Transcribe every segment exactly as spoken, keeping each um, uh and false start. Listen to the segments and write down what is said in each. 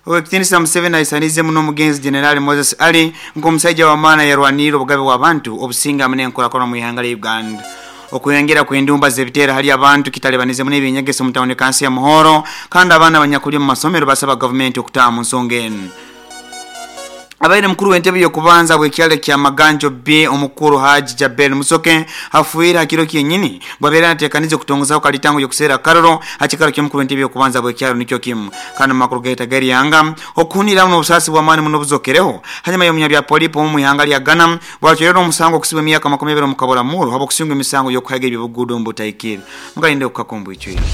Owekitinisa Museveni aisanize muno omugenzi General Moses Ali nk'omusajja w'amaani yarwanirira obugabe bw'abantu obusinga hamwe n'enkorakora mu ihanga lya Uganda. Okuyongera kw'endumba z'ebiteera hali abantu kitalebanizemu n'ebyenyegesa omu tawuni kansi ya Muhoro, kandi abaana abanyakuli omu masomero basaba gavumenti okutaaha mu nsonga enu. Abaire mukuru w'entebe y'okubanza bw'ekyalo kya Maganjo B omukuru Haji Jabel Musoke afuire ha kiro kyenyini bwabeera nateekanize okutongozaho kalitango y'okuseera karoro ha kikaro ky'omukuru w'entebe y'okubanza bw'ekyalo nikyo kimu. Kandi mu makuru gaita g'eryanga okuhuniramu n'obusaasi bw'amaani muno obuzokereho hanyuma y'omunyabya polipo omu ihanga lya Ghana bwacwerera omusango okusibwa emyaka makumi abiri omu kaburamuro habw'okusingwa emisango y'okuhaga eby'obuguudo omu butaikire. Mugalinde okukakumbu icwire.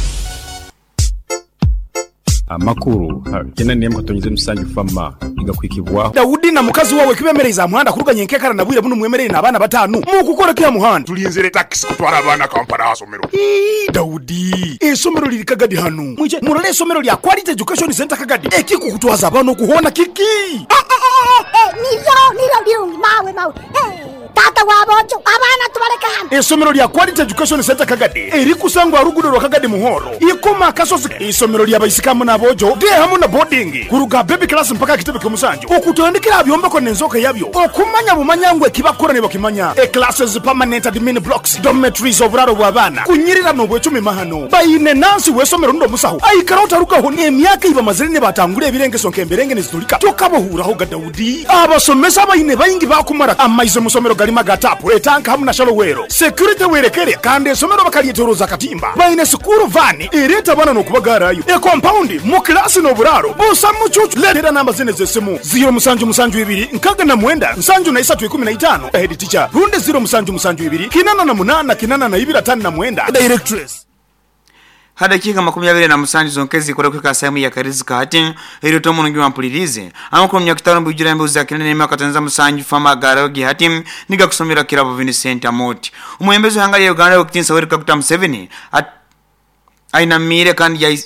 Amakuru kenda nemu katonyize musanju fama igakwikibwaho. Daudi na mukazi wawe kibemereza muhanda kuruganya enkekara na bwire buno mwemerere n'abaana batanu mukukora kya muhanda. Tulinzire taxi kutwara abaana Kampala asomero. Ii, Daudi, esomero liri Kagadi hano. Mwije murole esomero lya Quality Education Center Kagadi. Ekikukutwaza abaana okuhona kiki? Eh, eh, eh, eh, niryo niryo birungi mawe mawe. Eh, tata wabojo abaana tubaleka hano. Esomero lya Quality Education Center Kagadi erikusangwa rugudo rwa Kagadi Muhoro ikoma kasozi. Isomero lya baisikamu n'abojo de hamu na boarding kuruga baby class mpaka kitebe ky'omusanju okutandikira byombeko n'enzoka yabyo okumanya bumanyangwe kibakora ne bakimanya. E classes permanent admin blocks dormitories oburaro bw'abaana kunyirira n'obwecumi mahano bayine nansi w'esomero ndo musaho aikara otarukaho n'emyaka ibamazire ne batangura ebirengeso nk'emberenge nezitulika tokabohuraho ga Daudi. Abasomesa bayine bayingi bakumara amaize musomero galima gatapu etanka hamu na shalowero security werekere kandi esomero bakalietoroza katimba bayine sukuru vani ereta bana n'okubagarayo e compound mu klasi n'oburaro busa mucucu. Leetera namba zine z'essimu ziro musanju musanju ibiri nkaga na mwenda nsanju na isatu ikumi na itano head teacher runde ziro musanju musanju ibiri kinana na munana kinana na ibiri atano na mwenda directress. Hadakika makumi abiri na musanju zonkezi kora kwika sehemu ya Karizi Kahati ero tomo ngi wampulirize amakuru myaka mbujira mbuza kinene myaka tanza musanju fama garogi hati niga kusomera kirabo Vincent Amoti. Umuhembezi hanga ya Uganda okutinsa Yoweri Kaguta Museveni ainamire kandi ya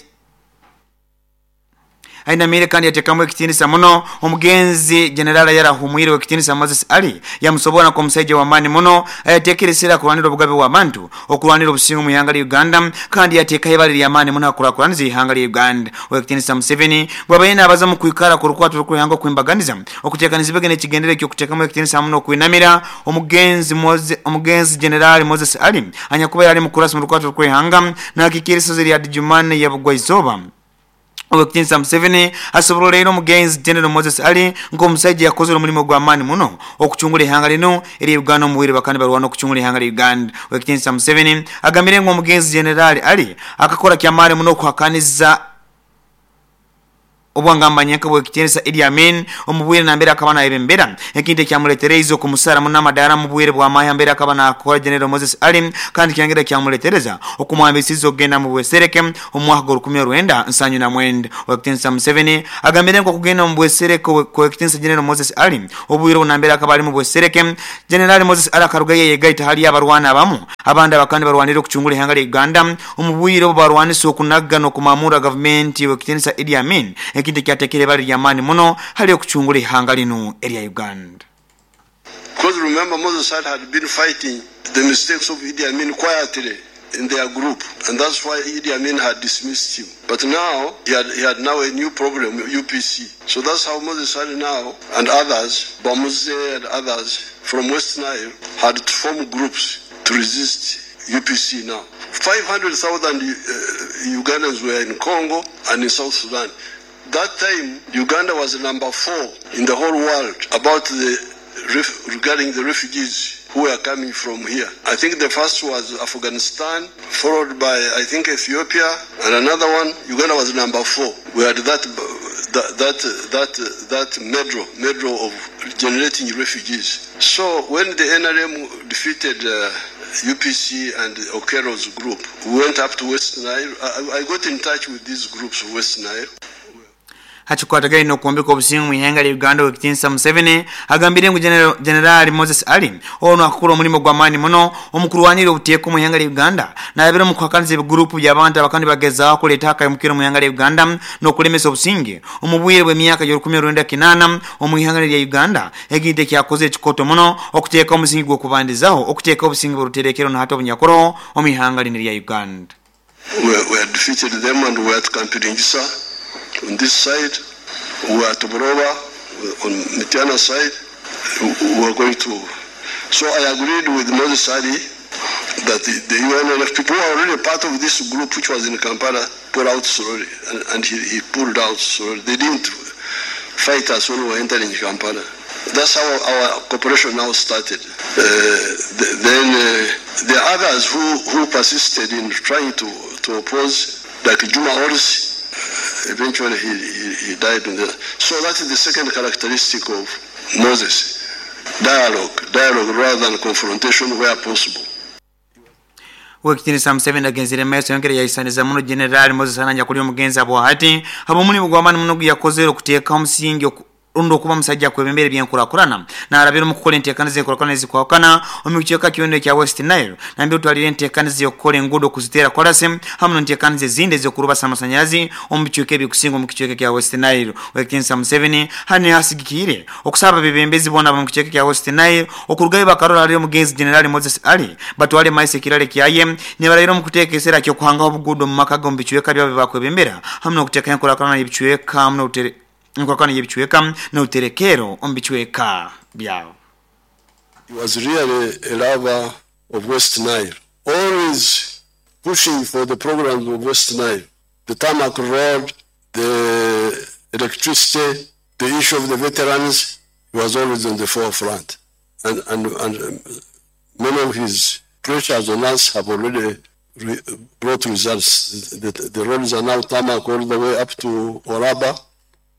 ainamire kandi yatekamwe ekitinisa muno omugenzi General yarahumwire ekitinisa Moses Ali yamusobora ko musajja wa mani muno ayatekeresera kulwanira obugabe bwa bantu okulwanira obusingo mu ihanga lya Uganda kandi yateka ibali lya mani muno akurakuranza ihanga lya Uganda. Ekitinisa Museveni bwabayina abaza mu kwikara ku rukwato rw'ihanga kwimbaganiza okutekaniza ibegene kigendere cyo kutekamwe ekitinisa muno kwinamira omugenzi Moses omugenzi General Moses Ali anyakuba yali mukurasa mu rukwato rw'ihanga nakikiriso lya Jumane ya Bugwaizoba. Owekitinisa Museveni asobola leero omugenzi General Moses Ali ng'omusajja yakozere omulimu gw'amaani muno okucungula ihanga lino eri Uganda omuwire bakandi balwana okucungula ihanga lya Uganda. Owekitinisa Museveni agambire ngu omugenzi General Ali akakora kyamaani muno okuhakaniza obwangambanya bw'ekitinisa Idi Amin omubwire nambere akaba nayebembera ekintu ekyamuletereize okumusara muno amadara mu bwire bw'amahe mbere akaba nakora General Moses Ali kandi kyangera kyamuletereza okumwambisiza okugenda mu bwesereke omwaka gw'olukumi lwenda nsanju na mwenda. Owekitinisa Museveni agambire ngu okugenda mu bwesereke kw'ekitinisa General Moses Ali obwire bunambere akaba ali mu bwesereke General Moses Ali akaruga yeyegaita hali abarwana abamu abandi abakandi barwanira okucungula ihanga lya Uganda omu bwire obu barwanisa okunaga n'okumamura gavumenti w'ekitinisa Idi Amin ekintu kyatekere bali lyamaani muno hali okucungula ihanga lino erya Uganda. Because remember, Moses Ali had been fighting the mistakes of Idi Amin quietly in their group, and that's why Idi Amin had dismissed him. But now he had, he had now a new problem, U P C. So that's how Moses Ali now and others, Bamuze and others from West Nile, had to form groups to resist U P C now. five hundred thousand uh, Ugandans were in Congo and in South Sudan. That time, Uganda was number four in the whole world about the ref-, regarding the refugees who were coming from here. I think the first was Afghanistan, followed by, I think, Ethiopia, and another one, Uganda was number four. We had that, that, that, that, that medal, medal of generating refugees. So when the N R M defeated, uh, U P C and Okello's group, we went up to West Nile. I, I got in touch with these groups of West Nile. Hachikwatagaine n'okuombeka obusingu mu ihanga lya Uganda owekitinisa Museveni agambire ngu General, General Moses Ali ono akakora omulimu gw'amaani muno omukurwanira obuteeka mu ihanga lya Uganda nayabire omu kuhakaniza ebigurupu by'abantu abakandi bagezaho kuleeta akayimukiro mu ihanga lya Uganda n'okulemesa obusinge omu bwire bw'emyaka y'olukumi lwenda kinaana omu ihanga lya Uganda ekintu ekyakoze ekikoto muno okuteeka omusingi gw'okubandizaho okuteeka obusinge bw'oruterekero n'ahati obunyakoro omu ihanga lino lya Uganda. We, we had defeated them and we had Kampiringisa on this side. We were at Buloba on Mityana side. We were going to. So I agreed with Moses Ali that the, the U N L F people who are already part of this group, which was in Kampala, pulled out slowly, and, and he, he pulled out slowly. They didn't fight us when we were entering Kampala. That's how our cooperation now started. Uh, the, then uh, the others who, who persisted in trying to, to oppose, like Juma Oris, eventually he, he, he died. In the, so that is the second characteristic of Moses. Dialogue, dialogue rather than confrontation where possible. Wekitinisa Museveni agenzere maaso yongera yayisaniza muno General Moses Ananya kuli omugenzi abwahati abo mulimu gw'amaanyi muno yakozere okuteeka omusingi rundi okuba musajja kwebembera ebyenkulakulana n'alabira mu kukola enteekaniza enkulaakulana ezikwawukana omu kicweka kyonna ekya West Nile nambira otwalira enteekaniza y'okukola enguudo okuziteera kolasi hamu n'enteekaniza ezindi ez'okulubasa amasanyalazi omu bicweka ebikusinga omu kicweka kya West Nile. Wekitinisa Museveni hano asigikiire okusaba abebembezi boona mu kicweka kya West Nile okurugayo bakarora ali omugenzi General Moses Ali batwale maiso ekirale kyaye nibarayira omu kuteeka ekiseera ky'okuhangaho obuguudo mu maka g'omu bicweka byabo bakwebembera hamu n'okuteeka enkulaakulana y'ebicweka hamu n'obutere nkwakana yebicweka n'uterekero ombicweka byao. He was really a lover of West Nile, always pushing for the programs of West Nile, the tarmac road, the electricity, the issue of the veterans. He was always on the forefront, and, and, and many of his pressures on us have already re brought results. The, the roads are now tarmac all the way up to Oraba.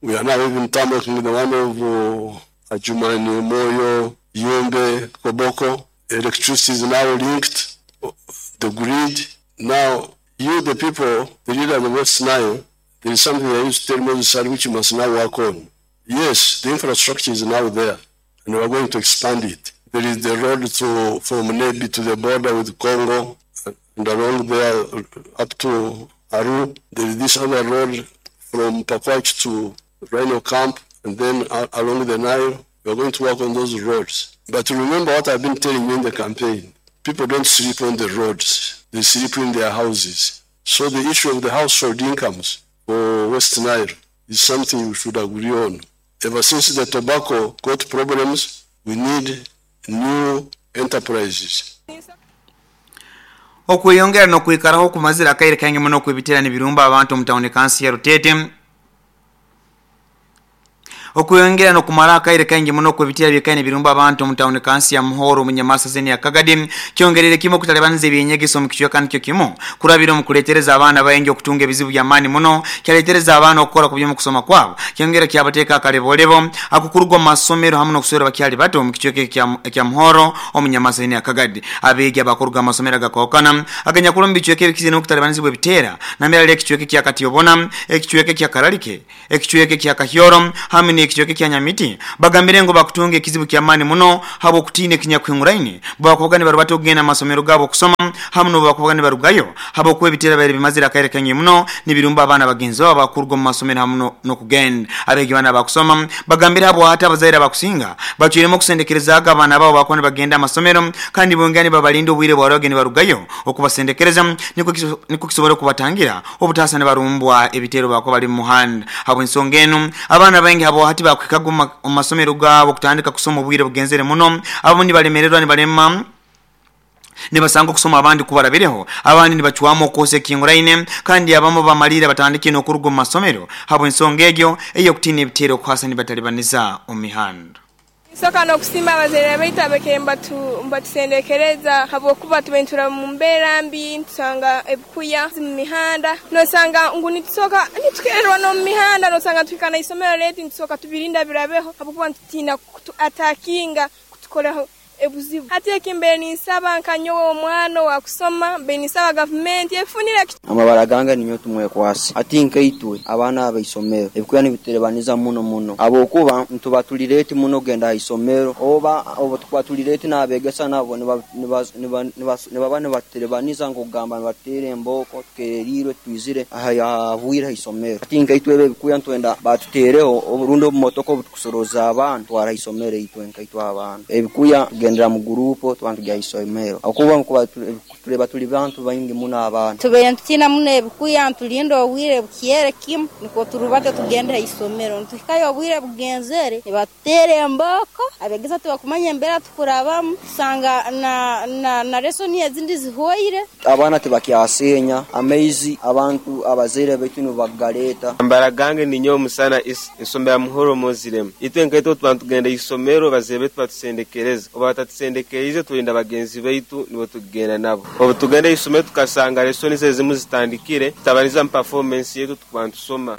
We are now even tarmacking the one of uh, Adjumani, Moyo, Yumbe, Koboko. Electricity is now linked, the grid. Now, you, the people, the leader of the West Nile, there is something I used to tell Moses which you must now work on. Yes, the infrastructure is now there, and we are going to expand it. There is the road to, from Nebi to the border with Congo, and along there up to Aru. There is this other road from Pakwach to Rhino Camp, and then uh, along the Nile. We are going to work on those roads. But remember what I've been telling you in the campaign. People don't sleep on the roads. They sleep in their houses. So the issue of the household incomes for West Nile is something we should agree on. Ever since the tobacco got problems, we need new enterprises. Okweyongera n'okwikaraho okumazira akaire kaingi muno okwebiteera n'ebirumba abantu omu tawuni kansi ya Rutete. Okweyongera n'okumara akaire kaingi muno okwebiteera byekaine ebirumba abantu omu tawuni kansi ya Muhoro omu Nyamasa zeni ya Kagadi kyongerere kimu okutalibaniza ebyenyegeso omu kicweka nikyo kimu kurabira omu kuleetereza abaana baingi okutunga ebizibu by'amaani muno kyaleetereza abaana okukora ku by'omukusoma kwabo kyongera kyabateeka akalebolebo akukurugwa mu masomero hamu n'okuswera bakyali bato omu kicweka ekya Muhoro omu Nyamasa zeni ya Kagadi. Abeegi abakuruga amasomero agakwawukana aganyakula omu bicweka ebikizire n'okutalibanizibwa ebiteera nambere ali ekicweka ekya Katiyobona, ekicweka ekya Kararike, ekicweka ekya Kahyoro hamwe ekicweka kya Nyamiti bagambire ngo bakutunga ekizibu ky'amaani muno habo okutiina ekinyakwinguraine bwakubaga nibarubata okugenda amasomero gaabo okusoma hamu n'obu nibarugayo habo okuba ebiteera baire bimazire akaire kaingi muno nibirumba abaana bagenzi babo bakuruga omu masomero hamu n'okugenda. Abeegi baana bakusoma bagambire habo hati abazaire abakusinga bacwiremu okusendekerezaaga abaana baabo bakuba nibagenda amasomero kandi bongera nibabalinda obwire bwarabage nibarugayo okubasendekereza nikwo kisobora okubatangira obutaasa nibarumbwa ebiteero bakuba bali mu muhanda. Habw'ensonga enu abaana baingi habo hati bakwikaga omu masomero gaabo okutandika kusoma obwire bugenzere muno abamu nibalemererwa nibalema nibasanga okusoma abandi kubarabireho abandi nibacwamu okwosa ekinguraine kandi abamu bamalira batandike n'okuruga omu masomero habw'ensonga egyo ey'okutiina ebiteero okuhasa nibatalibaniza omu mihanda. Soka n'okusimba abazaire baitu abakere mbatusendekereza habwokuba tubentura mu mbeera mbi ntusanga ebikuya mu mihanda nosanga ngu nitusoka nitukererwa n'omu mihanda nosanga tuhika n'isomero letu nitusoka tubirinda birabeho habwokuba nitutina kutuatakinga kutukoraho ebuzibu. Hati ekimbere ninsaba nkanyowe omwana wa kusoma mbe ninsaba gavumenti efunire amabara gange ninyo tumwekwasi ati nkaitwe abaana abaisomero ebikuya nibiterebaniza muno muno abokuba ntubatulireti muno genda aisomero oba obo tukwatulireti n'abegesa nabo nibaba nibaterebaniza ngokugamba nibatere emboko tukererirwe twizire ahabwire aisomero ati nkaitwe ebikuya ntwenda batutereho oburundi obumotoka obutukusoroza abaana twara aisomero itwe nkaitwe abaana ebikuya Tugendera mu gurupu tuba tujya isomero akuba kuba tuleba tuli bantu baingi muno abaana tubaire ntutina muno ebikuya ntulinda obwire bukyere kimu niko turubate tugende isomero ntuhikayo obwire bugenzere nibatutera emboko abegesa tubakumanya embera tukurabamu tusanga na, na, na lesoni ezindi zihoire. Abaana tibakyasenya amaizi abantu abazaire baitu nibagaleta. Ambara gange ninyo musana ensombe ya Muhoro Moziremu itwe nkaitwe tuba tugenda isomero bazaire baitu batusendekereza oba batatusendekereize tulinda bagenzi baitu nibo tugenda nabo obu tugenda isomero tukasanga lesoni ezimu zitandikire tutabaniza mu performance yetu tukuba ntusoma.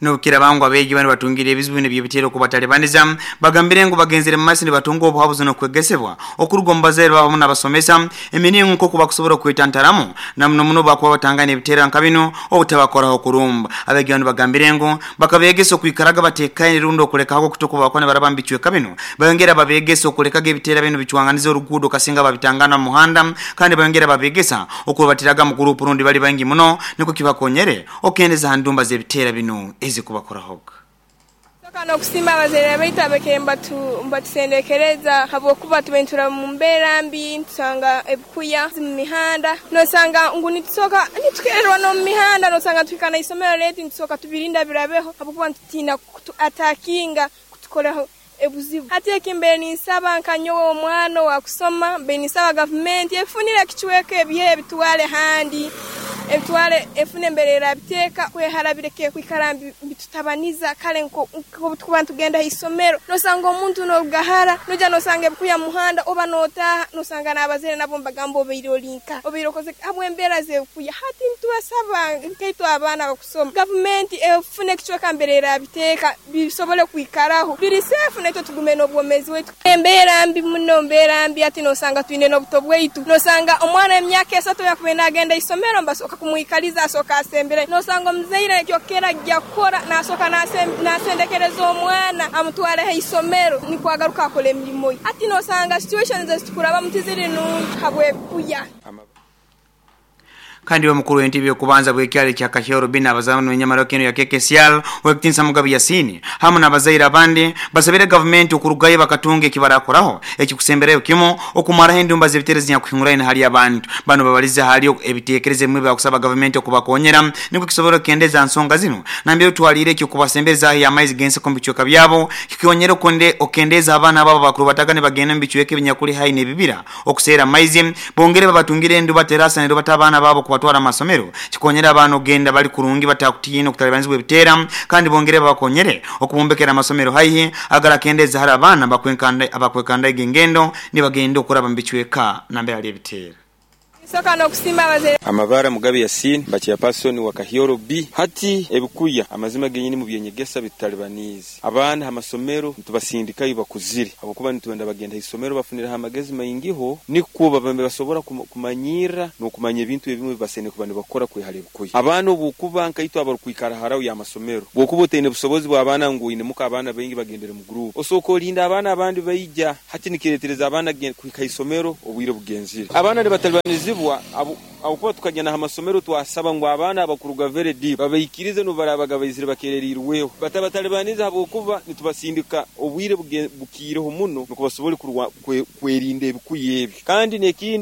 Nokira bangu abeegi bano batungire ebizibu bino byebiteero kubatalibaniza bagambire ngu bagenzere mu maaso ne batunga obuhabuzi n'okwegesebwa okuruga omu bazaire baabo n'abasomesa emiringo nk'oku bakusobola okwetantaramu na muno muno bakuba batangana ebiteero nka bino obutabakoraho kurumba. Abeegi bano bagambire ngu bakabeegesa okwikaraga batekaine rundi okulekaho okutokuba bakona baraba mu bicweka bino bayongera babeegesa okulekaga ebiteero bino bicwanganiza oruguudo kasinga babitangana mu muhanda kandi bayongera babeegesa okubatiraga mu gurupu rundi bali baingi muno niko kibakonyere okendeza ha ndumba z'ebiteero bino ezikubakorahoga. Soka nokusima abazaire baitu abekere mbatu mbatusendekereza habwokuba tubentura mu mbeera mbi tusanga ebikuya mu mihanda nosanga ngu nitusoka nitukererwa no mu mihanda nosanga tuhikana isomero leti nitusoka tubirinda birabeho habwokuba ntutina kutu atakinga kutukoraho ebuzibu. Hati ekimbere ninsaba nkanyowe omwana wa kusoma mbe ninsaba gavumenti efunire kichweka ebihe ebitwale handi ebitwale efune emberera biteka kwehara bireke kwikara bitutabaniza kale nko tukuba tugenda isomero nosanga omuntu norugahara noja nosanga ebikuya muhanda oba notaha nosanga n'abazere nabo mbagamba obeire olinka obeire okoze habwe embera zekuya. Hati ntubasaba nkaitwe abaana bakusoma gavumenti efune kichweka emberera biteka bisobole kwikaraho biri safe naitwe tugume n'obwomezi wetu. Embera mbi muno embera mbi ati nosanga twine n'obuto bwaitu nosanga omwana emyaka esatu yakubenda agenda isomero mbasoka kumwikaliza asoka asembere nosanga omuzaire kyokera gyakora nasoka nasendekereza omwana amutwale ha isomero nikwagaruka akora emirimo ye. Ati nosanga situations ezitukuraba mutiziri nungi habwekuya. Kandi wa mukuru w'entebe okubanza bw'ekyalo kya Kahyoro bina abazamu n'enyamaro keno ya K K C L Wekitinsa Mugabe Yasini hamwe n'abazaire abandi basabire gavumenti okurugayo bakatunga ekibarakoraho ekikusemberayo kimu okumaraho endumba z'ebiteerezo nyakuhinguraine hali abantu bano babalize hali ebiteekerezo ebimwe bakusaba gavumenti okubakonyera niko kisobora okendeza nsonga zino nambere otwalire ekyo kubasembeza ahi amaizi g'enseko mu bicweka byabo kikonyera okonde okendeza abaana babo bakuru batagane bagenda mu bicweka ebinyakuli hai n'ebibira okuseera amaizi bongere babatungire enduba terasa n'enduba abaana babo kubatwara amasomero kikonyera abaana ogenda bali kurungi batakutiina okutalibanizibwa ebiteera kandi bongere babakonyere okubombekera amasomero haihi agarakendeza hari abaana bakwenkanda abakwekanda egengendo nibagenda okuraba mu bicweka nambere ali ebiteera. Soka nokusima abazaire Amabara Mugabe Yasin bacha person wa Kahyoro B hati ebikuya amazima genyini mu byenyegesa bitalibanizi abaana amasomero ntubasindikayo bakuzire abakuba nitwenda bagenda isomero bafunira amagezi maingiho nikuba bambe basobora kumanyira nokumanya ebintu ebimwe bibasene kuba nibakora kwehale ebikuya abaana obukuba nkaitwa abarukwikara harawo ya masomero bwokuba oteine busobozi bwa abaana ngu inemuka abaana baingi bagendere mu group osoko olinda abaana abandi baija hati nikiretereza abaana kwika isomero obwire bugenzire abaana nibatalibanizi abukuba tukagenda amasomero twasaba ngu abaana abakuruga very deep babaikirize nubarabaga baizire bakererirweho batabatalibaniza habwokuba nitubasindika obwire bukiireho muno nukubasobole kwerinda ebikuya ebyo kandi nekindi.